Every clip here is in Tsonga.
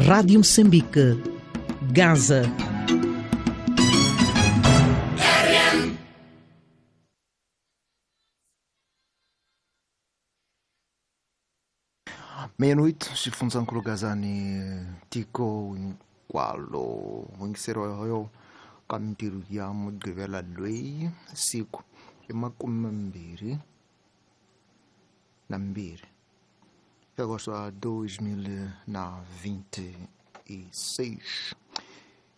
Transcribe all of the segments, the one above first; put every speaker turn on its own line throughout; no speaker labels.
Rádio Moçambique, Gaza.
Meia-noite, xifundzhankulu Gazani tiko hinkwalo yingiseriwa yo ka mintirho ya Mugqivela loyi siku i 22 agosto 2026.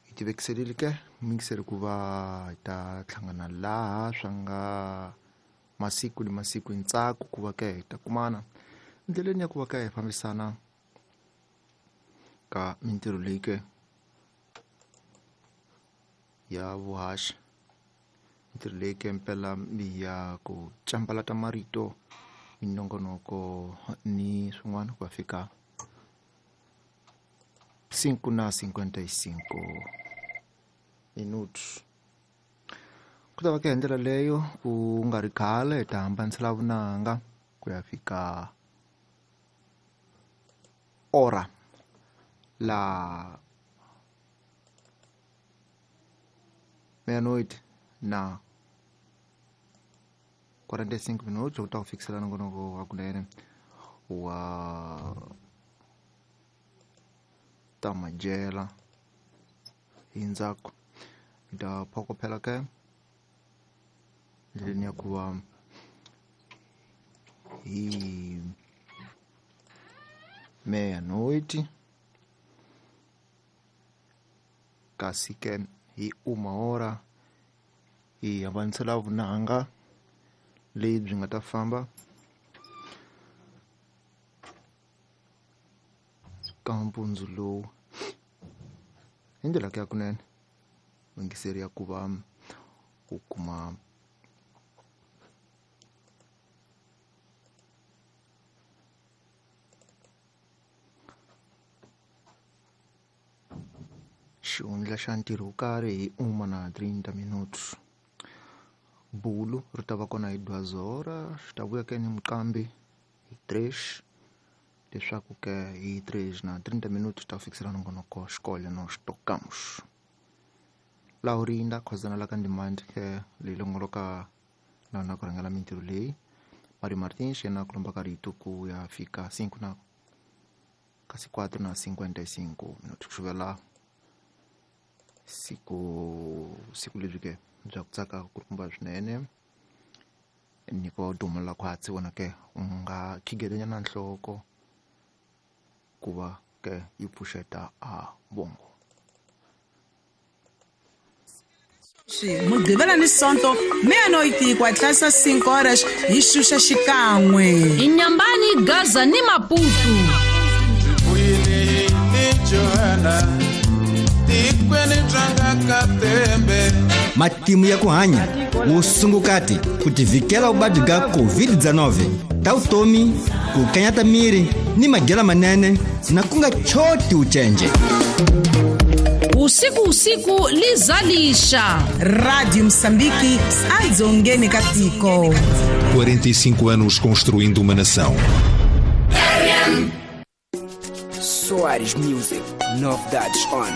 Hi tivekiserile ke mingiseri ku va hi ta hlangana laha swa nga masiku ni masiku hi ntsako ku va ke hi ta kumana ndleleni ya ku va ka hi fambisana ka mintirho leyi ke ya vuhaxi, mintirho leyi ke mpela ya ku cambalata marito, minongonoko ni swin'wana ku ya fika 5:55 minutos. Ku ta va ka hi ndlela leyo ku nga ri khale hi ta hambanisela vunanga ku ya fika ora la meia-noite na 45 minutos ku ta ku fikisela nongonoko wa kunene wa ta madyela hi ndzhaku hi ta phokophela ke ndleleni ya ku va hi meia-noite, kasi ke hi 1 hi hambanisela vunanga leyi byi nga ta famba ka mpundzu lowu hi ndlela ya kunene yingiseri ya ku va u kuma xihundla xa ntirho wo karhi hi 1:30 minutos. Bulu ri ta va kona hi 2 xi ta vuya ke ni muqambi hi 3 leswaku ke hi 3:30 minutos ta fikisela nongonoko xikolo no xitokamos. Laurinda khozana la ka ndimandi ke leyi longoloka na ku rhangela mintirho leyi Mario Martins yena ku lomba ka rito ku ya fika 5 na kasi 4:55 minutos ku xuvela siku lebyi ke bya ku tsaka ku kumba swinene ni ku dumela khwatsi wona ke u nga khigelenya nhloko ku va ke yi pfuxeta a bongo.
Mugqivela ni Sonto meia-noite 4:05 horas hi xuxa xikan'we
Inyambani, Gaza ni Maputo.
Matimu ya ku hanya wusungukati ku tivikela vuvabyi bya COVID-19 ta vutomi ku kanyata miri ni madyelo manene na ku nga choti ucenje.
Usiku usiku lizalisha
Rádio Moçambique adzongeni ka tiko.
45 anos construindo uma nação.
Soares Music, novidades on.